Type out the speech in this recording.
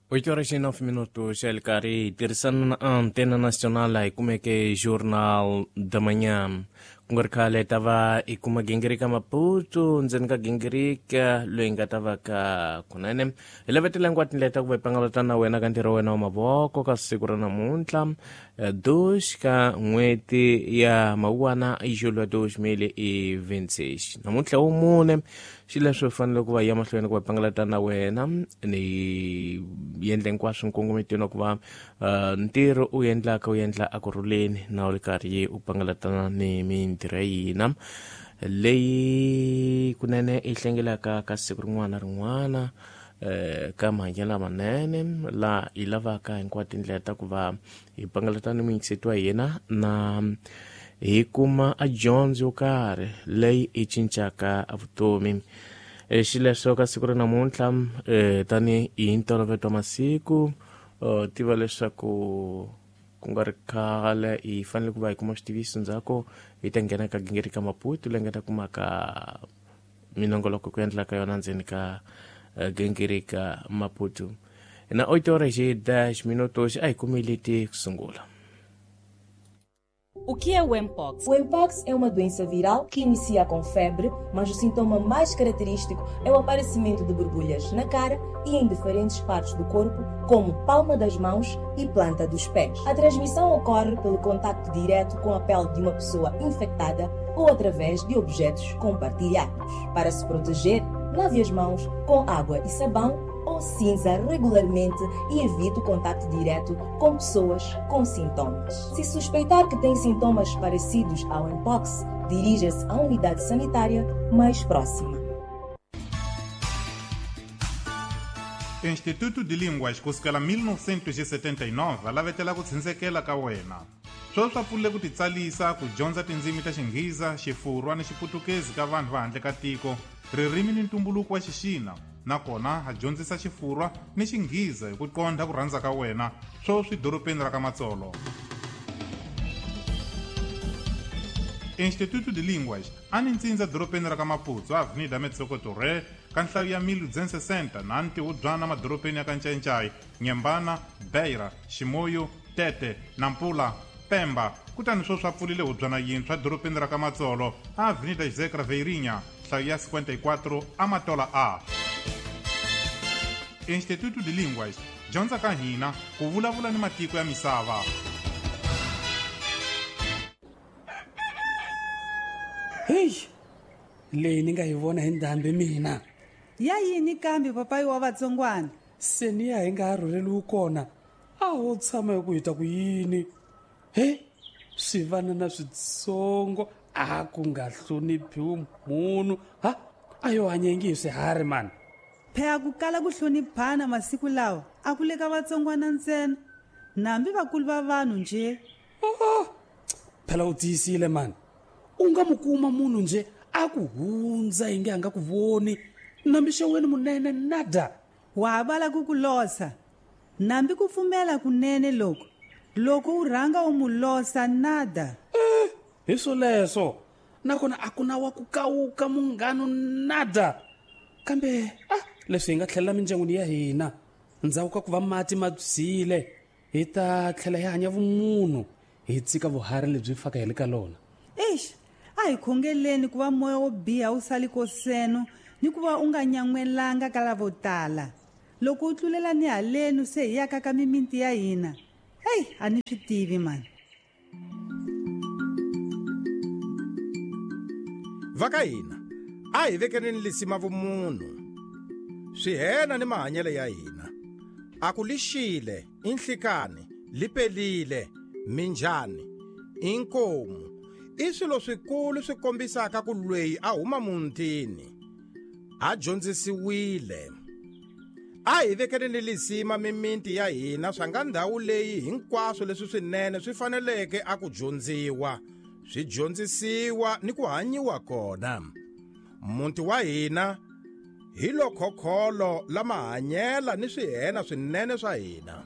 8 horas e 9 minutos, El Cari, tirhisana na Antena Nacional hi kumeke Jornal da Manhã. Ku nga ri khale ta va hi kuma gingirika Maputo ndzeni ka gingirika loyi nga ta va ka kunene hi lavetela hinkwato tindlela ta ku va hi pangalata na wena ka ntirho wa wena wa mavoko ka siku ra namuntlha 2 ka n'hweti ya mawuwana julho 2026 namuntlha wo mune xileswo hi fanele ku va ya mahlweni ku va pangalata na wena ni yendle hinkwaswo nkongometweni wa ku va ntirho u endlaka u endla akurhuleni na u ri karhi u pangalatana ni mintirho ya hina leyi kunene i hlengelaka ka siku rin'wana na rin'wana ka mahanyelo lamanene la hi lavaka hinkwato tindlela ta ku va hi pangalata ni muyingiseti wa hina na hi kuma a dyondzo yo karhi leyi i cincaka vutomi. Xileswo ka siku ra namuntlha tani hi ntolovelo wa masiku tiva leswaku ku nga ri khale hi fanele ku va hi kuma switiviso ndzhaku hi ta nghena ka gingiri ka Maputo leyi nga ta kumaka minongoloko ku endla ka yona ndzeni ka gingiri ka Maputo na 8 horas e 10 minutos a hi kumile ti ku sungula. O que é o Mpox? O Mpox é uma doença viral que inicia com febre, mas o sintoma mais característico é o aparecimento de borbulhas na cara e em diferentes partes do corpo, como palma das mãos e planta dos pés. A transmissão ocorre pelo contacto direto com a pele de uma pessoa infectada ou através de objetos compartilhados. Para se proteger, lave as mãos com água e sabão ou cinza regularmente e evite o contato direto com pessoas com sintomas. Se suspeitar que tem sintomas parecidos ao Mpox, dirija-se à unidade sanitária mais próxima. Instituto de Línguas kusukela 1979 lavetela ku tshindzekela ka wena. Sweswi swa pfulile ku titsalisa ku dyondza tindzimi ta Xinghiza, Xifurwa ni Xiputukezi ka vanhu va handle ka tiko, ririmi ni ntumbuluko wa Xixina, nakona ha dyondzisa Xifurwa ni Xinghiza hi ku qondha ku rhandza ka wena, sweswi dorobeni ra ka Matsolo. Instituto de Línguas a ni ntsindza dorobeni ra ka Maputo, Avenida Metsoco Torre, ka nhlayo ya 1260 na ntihubyana madorobeni ya ka Ncayincai, Nyembana, Beira, Chimoio, Tete, Nampula, Pemba, kutani sweswi a pfulile hubyana yintshwa dorobeni ra ka Matsolo, a Avenida José Craveirinha, nhlayo ya 54, Amatola A. Instituto de Línguas, dyondza ka hina ku vulavula ni matiko ya misava. Heyi, leyi ni nga yi vona hi ndhambi mina. Ya yini kambe papayi wa vatsongwana? Se ni ya hi nga ha rhurheliwi kona, a ho tshama hi ku hi ta ku yini? He, swivanana switsongo a ku nga hloniphiwi munhu. Ha, a yo hanya ingi hi swiharhi mani. Phela ku kala ku hloniphana masiku lawa a ku le ka vatsongwana ntsena, nambi vakulu va vanhu nje. Oh, phela u tiyisile mani. U nga mu kuma munhu nje a ku hundza inge a nga ku voni, nambi xeweni munene nada. Wa ha vala ku ku losa, nambi ku pfumela kunene loko loko u rhanga u mu losa nada. Hi swoleswo, nakona a ku na wa ku kawuka munghanu nada. Kambe a leswi hi nga tlhelela mindyangwini ya hina ndzhaku ka ku va mati ma byile, hi ta tlhela hi hanya vumunhu, hi tshika vuharhi lebyi faka hi le ka lona. Eish, a hi khongeleni ku va moya wo biha wu sali koseno ni ku va u nga nyan'welanga ka lavo tala. Loko u tlulela ni halenu se hi yaka ka mimiti ya hina. Hey, a ni swi tivi mani. Va ka hina a hi vekeleni lisima vumunhu, swihena ni mahanyelo ya hina. A ku lixile, i nhlikani, li pelile, minjhani, i nkomu, i swilo swikulu swi kombisaka ku lweyi a huma muntini a dyondzisiwile. A hi vekeleni lisima mimiti ya hina swa nga ndhawu leyi hinkwaswo leswi swinene swi faneleke a ku dyondziwa, swi dyondzisiwa ni ku hanyiwa kona. Muti wa hina hi lo khokholo la mahanyela ni swihena swinene swa hina.